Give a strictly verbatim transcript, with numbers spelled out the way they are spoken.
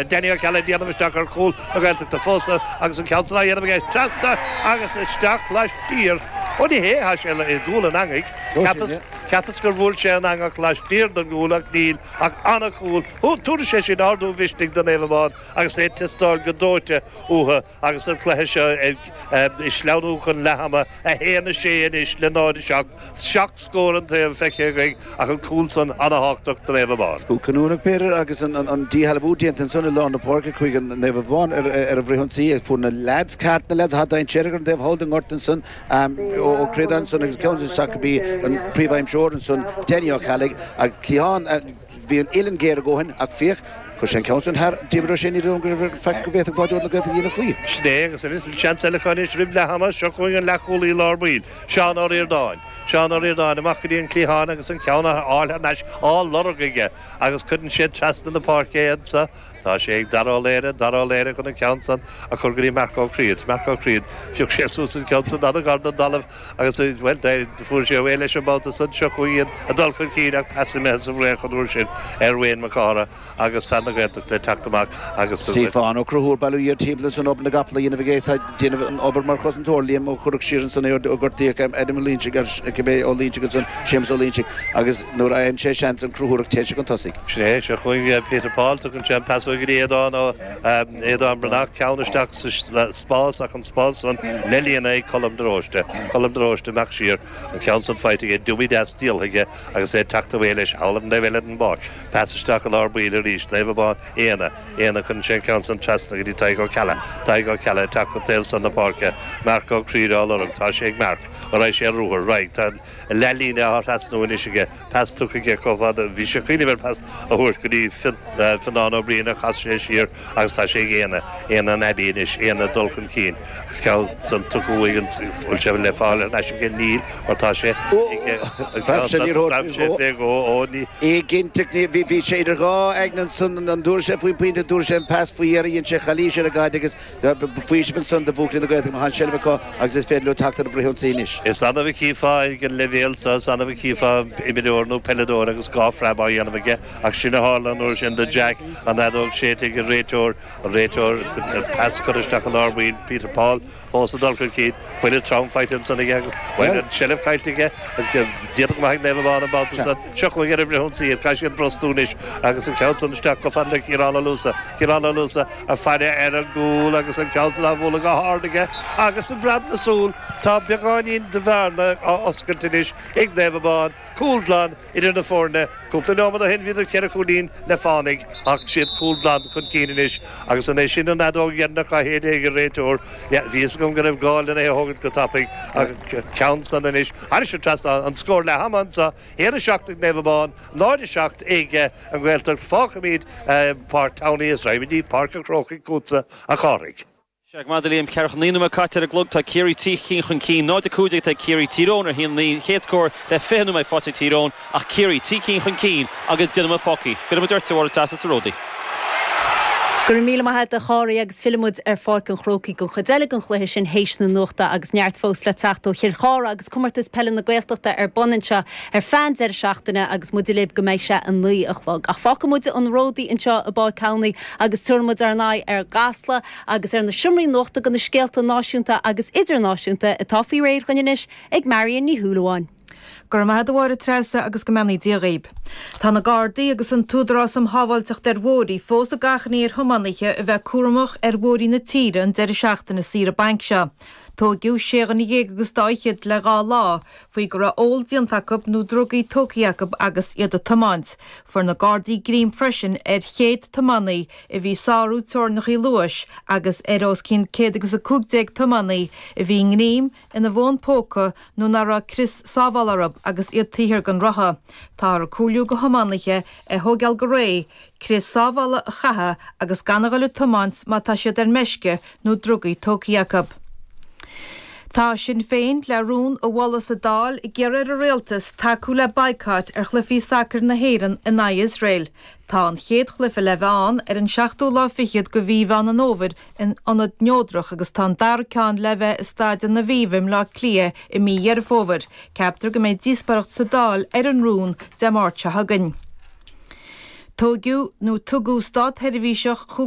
Danny Ó Ceallaigh ag déanamh isteach ar chúl na Gaeltachta fós agus an ceann san á dhéanamh aige trasna agus isteach laistiar. Ó ní hé, tá sé i gcúl an eangaigh. Cheapas, cheapas gur bhuail sé an eangach laistiar den gcúl ach níl ach an-chúl. Tabharfaidh sé sin ardú mhisnigh do Naomh Abán agus é ag teastáil go dóite uathu agus an cluiche seo ag sleamhnú chun leath ama, a haon a sé anois le náid a seacht. Seacht scór an taobh feicthe againn ach an cúl san an-thábhachtach do Naomh Abán. Cúl cinniúnach b'fhéidir agus an díshealbhú déanta ansan i lár na páirce chuig an Naomh Abán ar an bhfrithionsaí agus fuair na leaids ceart, na leaids atá dainséarach ar an taobh thall den ngort ansan Ó Críodáin ansan agus ceann isteach go dtí an príomhaimseoir ansan Danny Ó Ceallaigh agus cliathán bhí an uillinn géar a dhóthain ach féach Chuir sé an ceann sin thar Diarmuid Ó Sé, ní dóigh liom go raibh faic go bhféadfadh báideoir na Gaeltachta a dhéanamh faoi. Sin é, agus anois seans eile acu anois roimh leath ama, seo chugainn an leathchúlaí lár baill, Seán Ó Ríordáin. Seán Ó Ríordáin amach go dtí an cliathán agus an ceann a fháil thar n-ais á lorg aige agus cuireann sé trasna na páirce é anso. Tá sé ag Dara Ó Laoire, Dara Ó Laoire chun an ceann san a chur go dtí Marc Ó Críod. Marc Ó Críod, phioc sé suas an ceann san an-ghar don dtalamh agus, bhuel, fuair sé away leis an mbabhta san. Seo chugainn iad ag dul chun cinn ach pas imithe sa bhfraoch an uair sin ar Wayne Mac Cártha. agus fear na Gaeltachta ag teacht amach agus. Stiofán Ó Conchúir bailithe thiar timpeall ansan obair na gcapall a dhéanamh aige tá ag déanamh an obair mar chosantóir Liam Ó Cuirreach siar ansan é ó gortaíodh Adam Ó Loingsigh ar cibé Ó Loingsigh ansan Séamus Ó Loingsigh agus nuair a fhaigheann sé seans an Conchúrach téann sé chun tosaigh. Sin é, seo chugainn Peter Paul, tugann sé an pas uaidh go dtí Aodán Ó Aodán Breathnach, ceann isteach sa spás ach an spás san le líonadh ag Colm de Róiste. Colm de Róiste amach siar, an ceann san faighte aige, dummy deas díolta aige agus é ag teacht away leis thall ar an dtaobh eile den bpáirc. Pas isteach i lár baill arís, Naomh Abán, Éanna, Éanna, cuireann sé an ceann san trasna go dtí Tadhg Ó Ceallaigh, Tadhg Ó Ceallaigh ag teacht chun taobh san na páirce, Marc Ó Críde á lorg, tá sé ag Marc, an raghaidh sé ar ruathar, raghaidh, tá an leathlíne á thrasnú anois aige, pas tugtha aige chomh fada, bhí sé ag cuimhneamh ar pas a thabhairt go dtí Fionnán Ó Briain ach chas sé siar agus tá sé ag Éanna, Éanna an Abbey anois, Éanna ag dul chun cinn agus ceann san tugtha uaidh an bhfuil sé le fáil ar ais aige, níl mar tá sé ag an ceann san, phreab sé fé dhó, ó ní. Éiginnteacht, bhí bhí sé idir dhá aigne ansan, an dtabharfadh sé faoin bpointe, an dtabharfadh sé an pas faoi dheireadh, dhein sé calaois ar an gcaid agus faoiseamh ansan do bhuachaillí na Gaeltachta má tá an seilbh acu agus is féidir leo teacht ar an bhfrithionsaí anois. Is annamh a chífeá ag an leibhéal seo, is annamh a chífeá imreoir nó peileadóir agus dhá phreab á dhéanamh aige ach sin a tharla an uair sin do Jack, an fheadóg séidte ag an réiteoir, an réiteoir, pas curtha isteach i lár baill, Peter Paul fós ag dul chun cinn, buille trom faighte ansan aige agus, bhuel, an tseilbh caillte aige, déanta go maith ag Naomh Abán an babhta san. Seo chugainn ar an bhfrithionsaí iad, caithfidh siad brostú anois agus an ceann san isteach chomh fada le Ciarán Ó Luasa. Ciarán Ó Luasa ag faire ar an gcúl agus an ceann san á bhualadh go hard aige agus i bpreab na súl tá beagáinín de bhearna á oscailt anois ag Naomh Abán. Cúl glan idir na foirne. Cúpla nóiméad ó shin bhíodar ceithre chúilín le fánaidh ach siad cúl glan chun cinn anois agus an é sin an fheadóg dheireanach á shéideadh ag an réiteoir? Bhí a fhios agam go raibh gá lena é a thógaint go tapaidh ach an ceann san anois thairis an trasnán, an scór leath ama anseo, a haon a seacht ag Naomh Abán, náid a seacht ag an Ghaeltacht. Fágfaimid Páirc Townley is raghaimid go Páirc an Chrócaigh chugatsa, a Chárthaigh. Sea, go maith, a Liam, ceathracha naoi nóiméad caite ar an gclog, tá Ciarraí trí chinn chun cinn, náid a cúig déag atá ag Ciarraí, Tír Eoghain ar a haon a naoi, chéad scór le fiche nóiméad faighte ag Tír Eoghain ach Ciarraí trí cinn chun cinn agus deich nóiméad fágtha. Fillfidh muid ort, a Mháire Treasa, sa Ródaí. Go raibh míle maith agat a Chárthaigh agus fillfidh muid ar Pháirc an Chrócaigh don chuid eile den chluiche sin théis na nuachta agus neart fós le teacht ó Chill Chartha agus Comórtas Peile na Gaeltachta ar bun anseo ar feadh an deireadh seachtaine agus muide libh go mbeidh sé a naoi a chlog. Ach fágfaidh muid an Ródaí anseo i bPáirc Townley agus tabharfaidh muid ár n-aghaidh ar gCasla agus ar na seomraí nuachta do na scéalta náisiúnta agus idirnáisiúnta atá faoi réir dhúinn anois ag Marion Ní Shúilleabháin. Go raibh maith agat a Mháire Treasa agus go mbeannaí Dia dhaoib. Tá na Gardaí agus an tÚdarás um Shábháilteacht ar Bhóithre fós ag achainí ar thiománaithe a bheith cúramach ar bhóithrí na tíre an deireadh seachtaine saoire bainc seo. Tóigeadh sé dhuine dhéag agus dá fhichead le dhá lá faoi go raibh ól déanta acu nó drugaí tógtha acu agus iad ag tiomáint. Fuair na Gardaí greim freisin ar chéad tiománaí a bhí ag sárú teorainneacha luais agus ar os cionn céad agus a cúig déag tiománaí a bhí i ngreim ina bhfón póca nó nach raibh crios sábhála orthu agus iad taobh thiar den rotha. Táthar ag comhairliú do thiománaithe é thóigeáil go réidh, crios sábhála a chaitheamh agus gan a dhul ag tiomáint má tá siad ar meisce nó drugaí tógtha acu. Tá Sinn Féin le rún a mholadh sa Dáil ag iarraidh ar an Rialtas tacú le baghcat ar chluichí sacair na hÉireann in aghaidh Iosrael. Tá an chéad chluiche le bheith ann ar an seachtú lá fichead de mhí Mheán an Fhómhair in ionad neodrach agus tá an dara ceann le bheith i Staid an Aviva i mBleá Cliath i mí Dheireadh Fómhair. Ceaptar go mbeidh díospóireacht sa Dáil ar an rún Dé Máirt seo chugainn. Tógadh nó tugadh státsheirbhíseach chúig